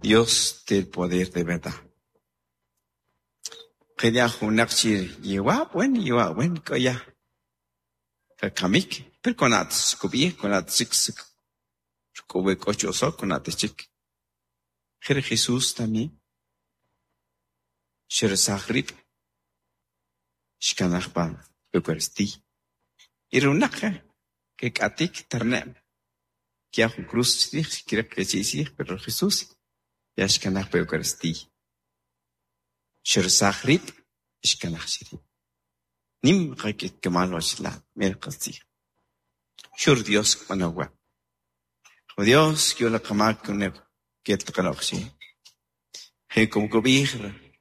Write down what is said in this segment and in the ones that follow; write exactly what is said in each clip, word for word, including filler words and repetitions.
Dios del poder de verdad. Quería junakchir yewa buen yewa buen koya. Kakamik, pero con at kubi con at six kube kocho so con at chik. Jer Jesús también. Sher sagrip. Shkanachpan Eucaristía. Irunaka que katik tarnem. Que a cruz creo que sí sí, pero Jesús ya shkanachpa Eucaristía. Sher sagrip shkanachshiri. Nim qakit kamal washla mer qatsi. Shur Dios manawa. Dios yo la kamak ne ket qanoxi. He como kobir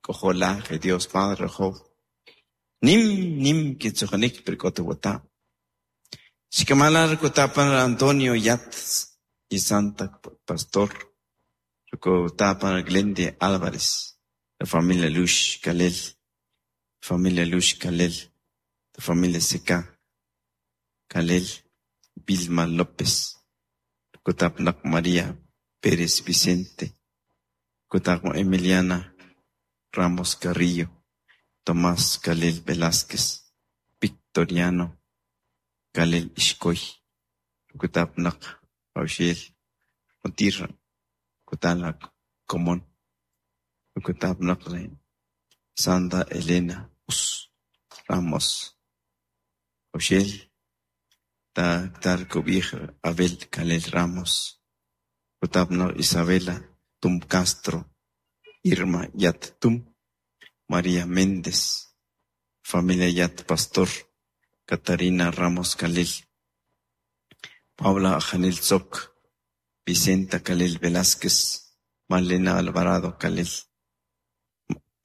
kojola he Dios Padre Job. Nim nim kitsojanik perkotewata. Shikamalar kotapan Antonio Yat y Santa Pastor. Kotapan Glende Álvarez. La familia Lush Kalel. Familia Lush Kalel. La familia Seca Kalel. Vilma López. Kotapnak María Pérez Vicente. Kotapnak Emiliana Ramos Carrillo. Tomás Kalel Velázquez. Victoriano Kalel Ishkoy. Kotapnak Paushel. Otirra. Kotalak Comón. Kotapnak Santa Elena Us Ramos. Paushel. Ta Tar Abel Kalel Ramos. Kotapnak Isabela Tum Castro. Irma Yat Tum. María Méndez, familia Yat Pastor, Catarina Ramos Kalel, Paula Janel Zoc, Vicenta Kalel Velázquez, Malena Alvarado Kalel,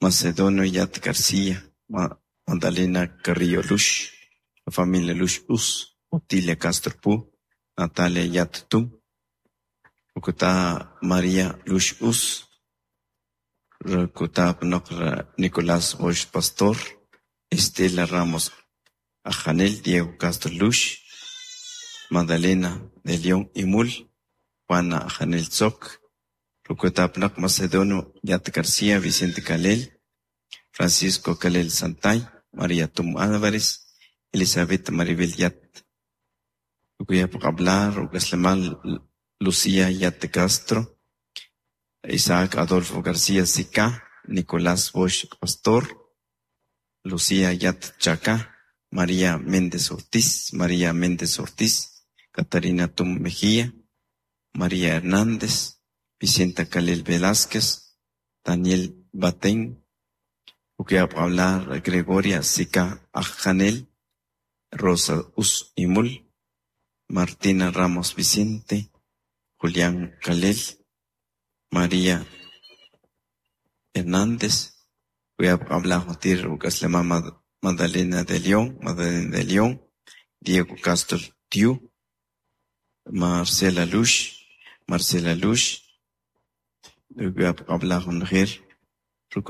Macedonio Yat García, Ma Magdalena Carrillo Lush, la familia Lush Us, Otilia Castro Pu, Natalia Yat Tum, Bogotá María Lush Us, Kutab Nicolás Bosch Pastor, Estela Ramos Ajanel, Diego Castro Lush, Magdalena de León Imul, Juana Ajanel Zoc, Rucotapnac Macedonio Yat García, Vicente Kalel, Francisco Kalel Santay, María Tum Álvarez, Elizabeth Maribel Yat, Rukuyap Hablar, Rucaslamal Lucía Yat Castro, Isaac Adolfo García Sica, Nicolás Bosch Pastor, Lucía Yat Chaca, María Méndez Ortiz, María Méndez Ortiz, Catarina Tum Mejía, María Hernández, Vicenta Kalel Velázquez, Daniel Batén, hablar Gregoria Sica Ajanel, Rosa Us Imul, Martina Ramos Vicente, Julián Kalel, María Hernández, voy a hablar Magdalena de León, Magdalena de León, Diego Castro Tiu, Marcela Lush, Marcela Lush, voy a hablar